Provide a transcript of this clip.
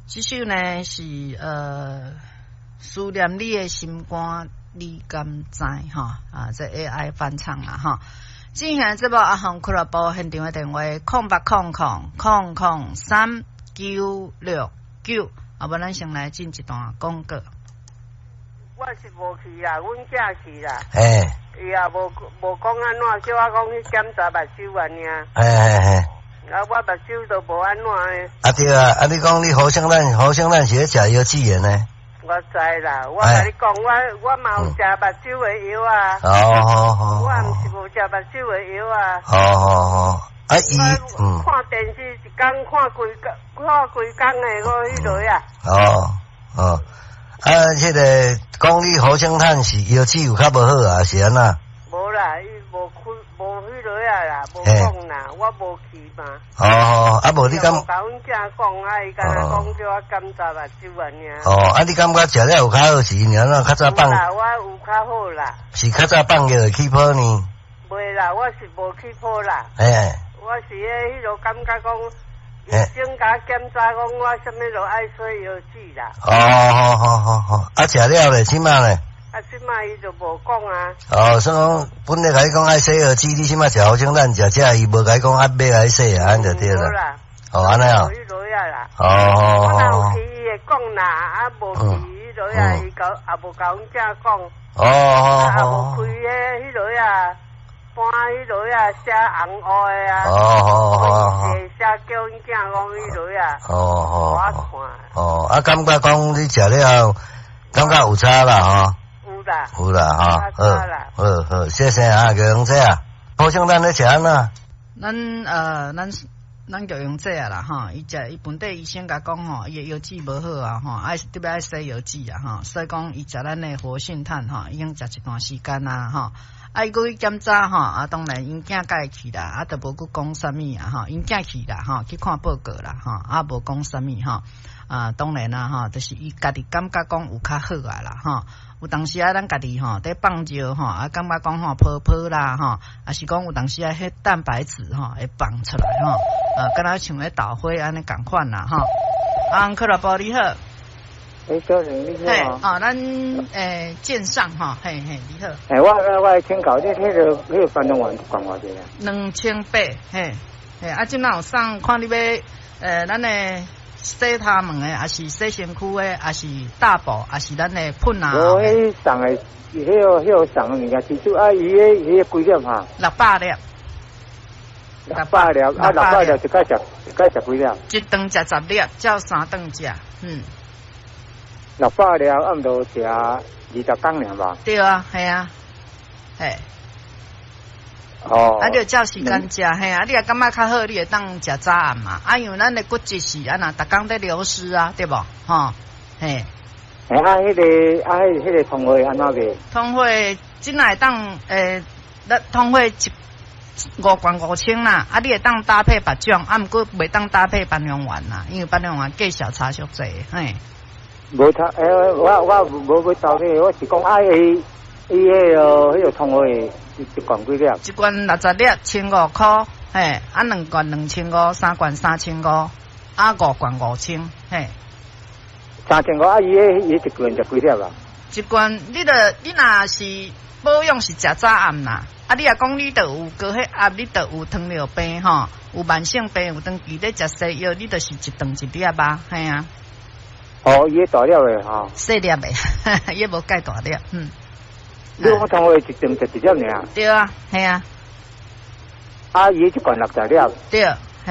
這首呢是思念你的心肝，你敢知？吼啊，這 AI 翻唱啦吼。進行節目阿紅俱樂部現場的電話：0800003969。啊，無咱先來進一段廣告。我是無去啦，阮囝去啦。伊也無講按怎，叫我講去檢查目睭按呢。啊，我目睭都無按怎的。啊對啊，啊你講你好像咱好像咱是咧食藥劑的呢？我知啦，我共你講，我嘛有食目睭的藥啊。哦好好。我毋是無食目睭的藥啊。好好好，啊伊嗯。看電視一工看規工，看規工的，我彼落啊。哦哦。啊，這個講你活性炭是藥劑有較無好啊，是按怎？無啦，伊無開無彼落啊啦，無講啦，我無去嘛。哦，啊無你感？共阮囝講啊，伊敢若講叫我檢查目睭按呢。哦，啊你感覺食了有較好是因按怎較早放？啦，我有較好啦。是較早放藥會起泡呢？袂啦，我是無起泡啦。我是彼落感覺講。醫生共我檢查講，我啥物都愛洗藥劑啦。哦，好好好好，啊，食了咧，這馬咧？啊，這馬伊就無講啊。哦，所以講本來共你講愛洗藥劑，你這馬食好像咱食食，伊無共你講啊，欲來洗啊，按就對啦。哦，按呢哦。哦哦。我若有去，伊會講啦，啊，無去，彼落啊，伊共也無共阮囝講。哦哦哦。啊，無開彼彼落啊。搬彼落啊，寫紅烏的啊，寫叫阮囝講彼落啊，我看。哦，啊，感覺講你食了後，感覺有差啦，吼。有啦。有啦，吼。好，好，好，謝謝啊，玉榮姐啊，好像咱咧食按怎？咱玉榮姐啊啦，吼，伊食伊本地醫生共講吼，伊的腰子無好啊，吼，愛特別愛洗藥劑啊，吼，所以講伊食咱的活性炭吼，已經食一段時間啊，吼。啊，伊閣去檢查吼，啊，當然𪜶囝共伊去啦，啊，就無閣講啥物啊，吼，𪜶囝去啦，吼，去看報告啦，吼，啊，無講啥物吼，啊，當然啦，吼，就是伊家己感覺講有較好啊啦，吼，有當時啊，咱家己吼，佇放尿吼，啊，感覺講吼泡泡啦，吼，啊是講有當時啊，彼蛋白質吼會放出來吼，啊，敢若像彼豆花按呢仝款啦，吼。啊，俱樂部你好。欸，小玲你好。嘿，哦，咱線上吼，嘿嘿，你好。欸，我請教你，彼個番朮丸一罐偌濟啊？2800，嘿，嘿，啊，這馬有送，看你欲，咱的洗頭毛的，抑是洗身軀的，抑是大寶，抑是咱的噴啊？無，彼送的，彼個送的物件，其實啊，伊彼幾粒哈？600粒。600粒，啊，六百粒一擺食幾粒？一頓食10粒，照三頓食，嗯。六百粒，啊，毋著食20工爾吧？對啊，係啊，嘿。哦。啊，你著照時間食，嘿啊，你若感覺較好，你會當食早暗嘛。啊，因為咱的骨質是按怎，逐工佇流失啊，對無？吼，嘿。欸，啊，彼個啊，彼個通貨按怎賣？通貨這擺會當，咱通貨一五罐5000啦，啊，你會當搭配別種，啊，毋過袂當搭配番朮丸啦，因為番朮丸價數差足濟，嘿。無差，欸，我無欲搭配，我是講啊，伊彼個通貨一罐幾粒？一罐60粒，1500箍，嘿，啊，兩罐2500，三罐3500，啊，五罐5000，嘿。3500啊！伊一罐食幾粒啊？一罐，你著你若是保養是食早暗啦，啊，你若講你著有高血壓，你著有糖尿病吼，有慢性病，有長期咧食西藥，你就是一頓一粒啊，嘿啊。哦，伊大粒的吼。細粒的，伊無蓋大粒，嗯。你講通貨一頓食一粒爾？對啊，嘿啊。啊，伊一罐60粒。對。